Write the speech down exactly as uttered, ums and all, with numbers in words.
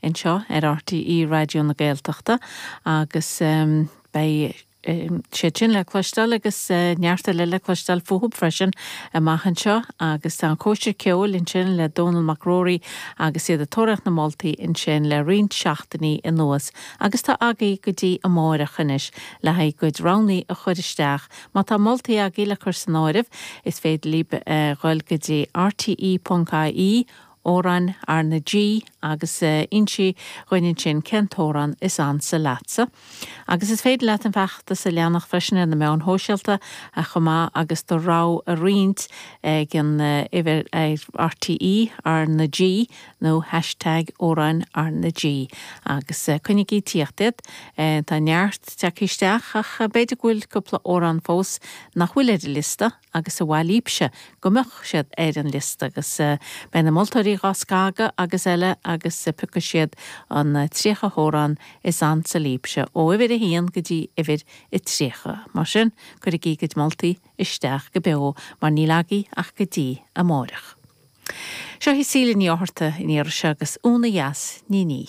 anseo ar RTÉ Raidió na Gaeltachta agus beidh siad sin le cloisteáil agus neart eile le cloisteáil fúthu freisin amach anseo agus tá an cóisir ceoil ansin le Dónal Mac Ruairí agus iad ag tóraíocht na moltaí ansin le roinnt seachtainí anuas agus tá agaibh go dtí amárach anois le haghaidh bhur gcuid roghanna a chur isteach. Má tá moltaí agaibh le cur san áireamh is féidir libh dul go dtí RTE.ie Amhráin R na G agus uh, insí dúinn ansin cén t-amhrán is ansa leatsa. Agus is féidir leat an feachtas a leanacht freisin ar na meáin shóisialta a chomh maith agus do rogha a roinnt ag an uimhir RTE R na G nó hashtag Amhráin R na G. agus uh, coinnígí ag tíocht iad uh, tá neart tagtha isteach ach b'fhéidir go bhfuil cúpla amhrán fós nach bhfuil ar an liosta agus ar mhaith libhse go mbeadh siad ar an liosta agus uh, beidh na moltóirí dhá scagadh agus eile agus piocfaidh siad an tríocha amhrán is ansa libhse ó uimhir a haon go dtí uimhir a tríocha. Mar sin cuirigí bhur gcuid moltaí isteach go beo mar níl agaibh ach go dtí amárach. Seo í Síle Ní Fhátharta in iarse agus úna dheas ní ní.